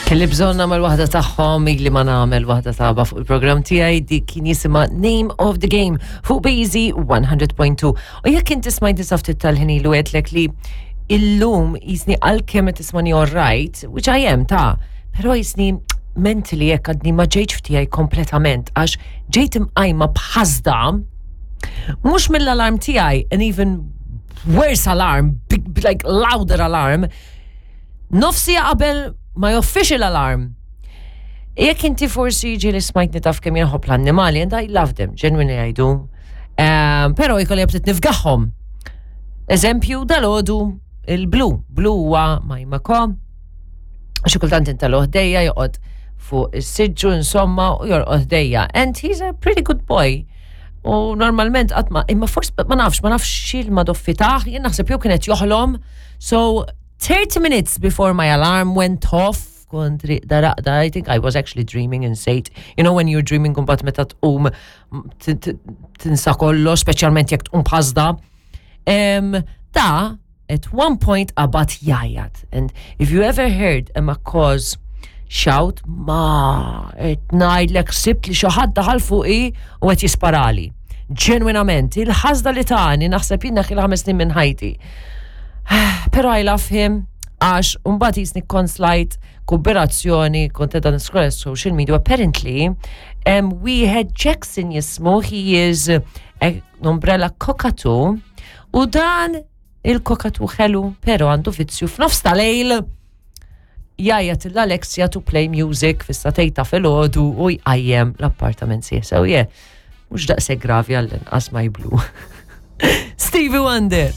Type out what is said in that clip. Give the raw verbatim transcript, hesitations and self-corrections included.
Kelli bżonn nagħmel waħda tagħhom, ili ma nagħmel waħda ta' ABBA fuq il-programm tiegħi. Dik kien jisimha Name of the Game fuq Bazy one hundred point two. U jekk inti smajt ftit tal-ħin ilu, għedtlek li illum jisni għalkemm qed tismani all right, which I am ta', però jisni mentally jekk għadni ma ġejtx f'tiegħi kompletament għax ġejt imqajma b'ħasda mhux mill-alarm tiegħi, an even worse alarm, big, like louder alarm, nofs siegħa qabel my official alarm. Jekk inti forsi ġieli smajtni, taf kemm inħobb l-annimali, and I love them, genuinely I do. Um, pero jkolli btit nifgahom. Eżempju, dalgħodu il-Blue. Blue huwa my macaw. Xi kultant intellgħu ħdejja, joqgħod fuq is-siġġu insomma u jorqod ħdejja. And he's a pretty good boy. U normalment qatt ma, imma forsi ma nafx, ma nafx xil ma doffitaħ, jien naħseb jew kienet joħlom. So thirty minutes before my alarm went off, kont rieqda raqda, I think I was actually dreaming and said, you know when you're dreaming, kumbat meta tqum tinsa kollox, speċjalment jekk tqum b'ħasda. Um, da, at one point qabad jgħajjat. And if you ever heard a macaws shout, ma, qed ngħidlek ħsibt li xi ħadd daħal fuqi u qed jisparali. Ġenwinament, il-ħasda li tani, naħseb jiena kien ħames snin minn ħajti. Pero I love him, għax mbagħad jisni kont slajt kooperazzjoni, kont edha niscroll social media, apparently, um, we had Jackson jismu, he is an umbrella cockatoo, u dan il-cockatoo ħelu, pero għandu vizzju f'nofs tal-lejl jgħajjat l-Alexa to play music fis-sagħtejn ta' filgħodu u jqajjem l-appartament sieħ. So yeah, mhux daqshekk gravi għall-inqas my Blue. Stevie Wonder.